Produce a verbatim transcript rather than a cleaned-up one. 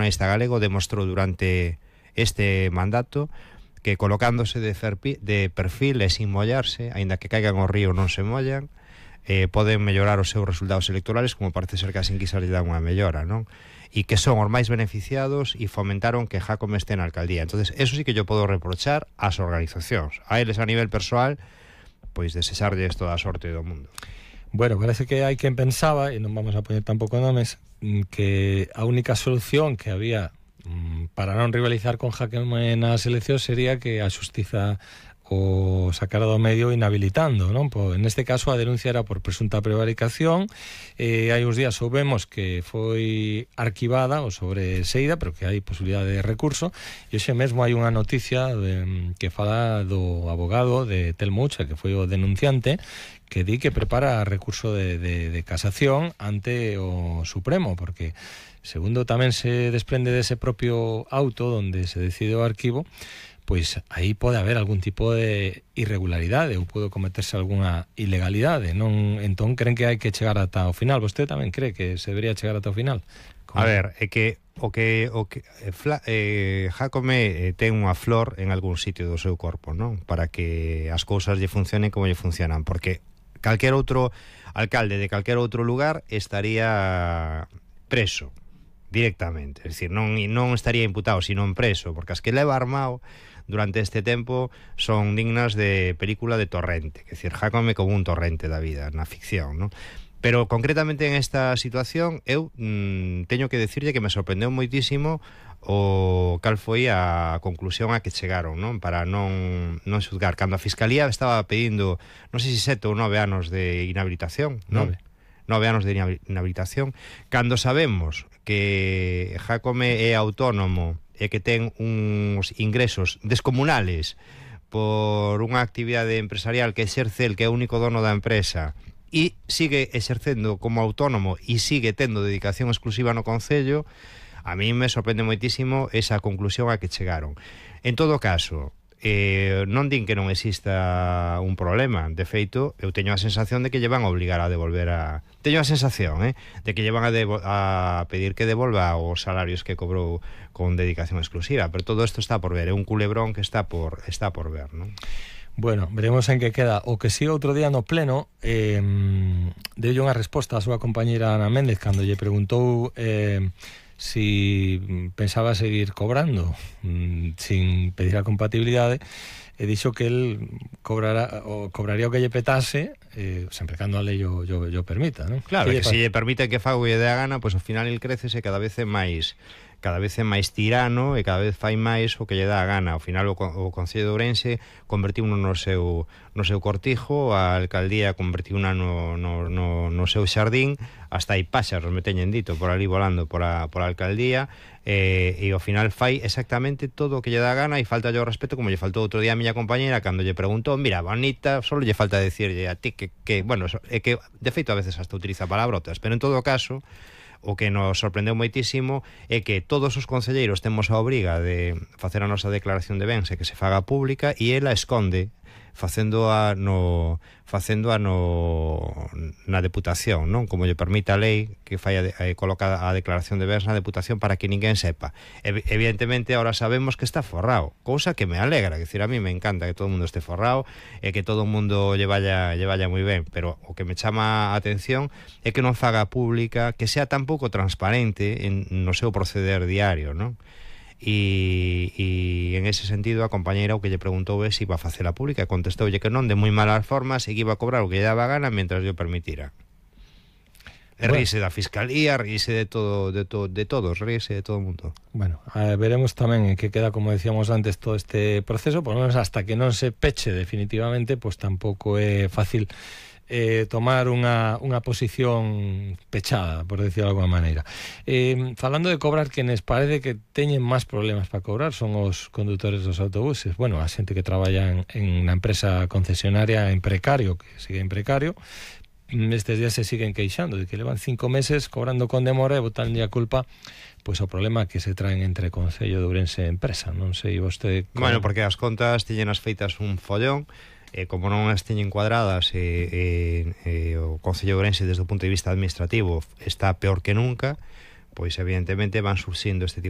nacionalista galego demostrou durante este mandato que colocándose de, ferpi, de perfil e sin mollarse, aínda que caigan ao río non se mollan, eh, poden mellorar os seus resultados electorales, como parece ser que as enquisas lle dan unha mellora, non? E que son os máis beneficiados e fomentaron que Jácome este na alcaldía. Entonces, eso sí que yo podo reprochar ás organizacións. A eles a nivel persoal, pois desexarlles toda a sorte do mundo. Bueno, parece que hai quen pensaba, e non vamos a poñer tampouco nomes, que a única solución que había para non rivalizar con Jácome nas eleccións sería que a xustiza o sacara do medio inhabilitando, non? Pues, neste caso a denuncia era por presunta prevaricación. Eh, hai uns días soubemos que foi arquivada o sobreseída, pero que hai posibilidade de recurso, e hoxe mesmo hai unha noticia de, que fala do abogado de Telmo Ucha, que foi o denunciante, que di que prepara recurso de, de, de casación ante o Supremo, porque segundo tamén se desprende dese propio auto onde se decide o arquivo, pois aí pode haber algún tipo de irregularidade ou pode cometerse algunha ilegalidade, non? Entón creen que hai que chegar ata o final. Vostede tamén cree que se debería chegar ata o final? Como? A ver, é que o que o que fla, eh, Jácome eh, ten unha flor en algún sitio do seu corpo, non? Para que as cousas lle funcionen como lle funcionan, porque calquer outro alcalde de calquer outro lugar estaría preso directamente, es decir, non, non estaría imputado, sino en preso, porque as que leva armado durante este tempo son dignas de película de Torrente, que decir, Jácome como un Torrente da vida na ficción, non? Pero concretamente en esta situación eu mmm, teño que decirlle que me sorprendeu moitísimo o cal foi a conclusión a que chegaron, non? Para non, non xuzgar. Cando a Fiscalía estaba pedindo, non sei se sete ou nove anos de inhabilitación, non? Nove. Nove anos de inhabilitación, cando sabemos que Jácome é autónomo e que ten uns ingresos descomunales por unha actividade empresarial que exerce el, que é o único dono da empresa, e sigue exercendo como autónomo e sigue tendo dedicación exclusiva no Concello, a mí me sorprende moitísimo esa conclusión a que chegaron. En todo caso, eh, non din que non exista un problema. De feito, eu teño a sensación de que lle van a obligar a devolver a... Teño a sensación, eh, de que lle van a, devo... a pedir que devolva os salarios que cobrou con dedicación exclusiva, pero todo isto está por ver, é un culebrón que está por está por ver, non? Bueno, veremos en que queda. O que si outro día no pleno eh, deulle unha resposta a súa compañeira Ana Méndez cando lle preguntou eh, si pensaba seguir cobrando mm, sin pedir a compatibilidade, e dixo que el cobrará, o cobraría o que lle petase, eh, sempre cando a lei o, o, o permita, non? Claro, que, que se lle permite que faga o que lle dé a gana, pois ao final el crecese cada vez é máis cada vez é máis tirano e cada vez fai máis o que lle dá a gana. Ao final o, o Concello de Ourense convertiu no, no seu no seu cortijo, a alcaldía convertiu no, no, no, no seu xardín, hasta hai páxaros, me teñen dito, por ali volando por a, por a alcaldía, eh, e ao final fai exactamente todo o que lle dá a gana, e falta yo respeto, como lle faltou outro día a miña compañera cando lle preguntou, mira, bonita, solo lle falta decirlle a ti que, que bueno, é que de feito a veces hasta utiliza palabrotas, pero en todo caso o que nos sorprendeu moitísimo é que todos os concelleiros temos a obriga de facer a nosa declaración de bens e que se faga pública, e ela esconde facendo a no facendo a no na deputación, non? Como lle permite a lei que fai a, a coloca a declaración de bens na deputación para que ninguén sepa. E, evidentemente ahora sabemos que está forrado, cousa que me alegra, que decir, a mí me encanta que todo o mundo este forrado e que todo o mundo lle vaya lle vaya moi ben, pero o que me chama a atención é que non faga pública, que sea tan pouco transparente en no seu proceder diario, non? E, e en ese sentido a compañeira o que lle preguntou é se iba a facela pública, e contestoulle que non, de moi malas formas, e que iba a cobrar o que lle daba gana mentras yo permitira. E bueno, ríse da Fiscalía, ríse de todo, de, to, de todos, ríse de todo o mundo. Bueno, eh, veremos tamén en que queda, como decíamos antes, todo este proceso, por lo menos hasta que non se peche definitivamente, pues tampouco é fácil Eh, tomar unha, unha posición pechada, por decirlo de alguma maneira. Eh, falando de cobrar, quenes parece que teñen máis problemas para cobrar son os condutores dos autobuses. Bueno, a xente que traballa en, en unha empresa concesionaria en precario, que sigue en precario, estes días se siguen queixando de que levan cinco meses cobrando con demora e botanlle a culpa pois o problema que se traen entre Concello de Ourense e empresa. Non sei vostede... Como... Bueno, porque as contas tiñen as feitas un follón, e como non as teñen cuadradas, e, e, e o Concello de Ourense desde o punto de vista administrativo está peor que nunca, pois evidentemente van surxindo este tipo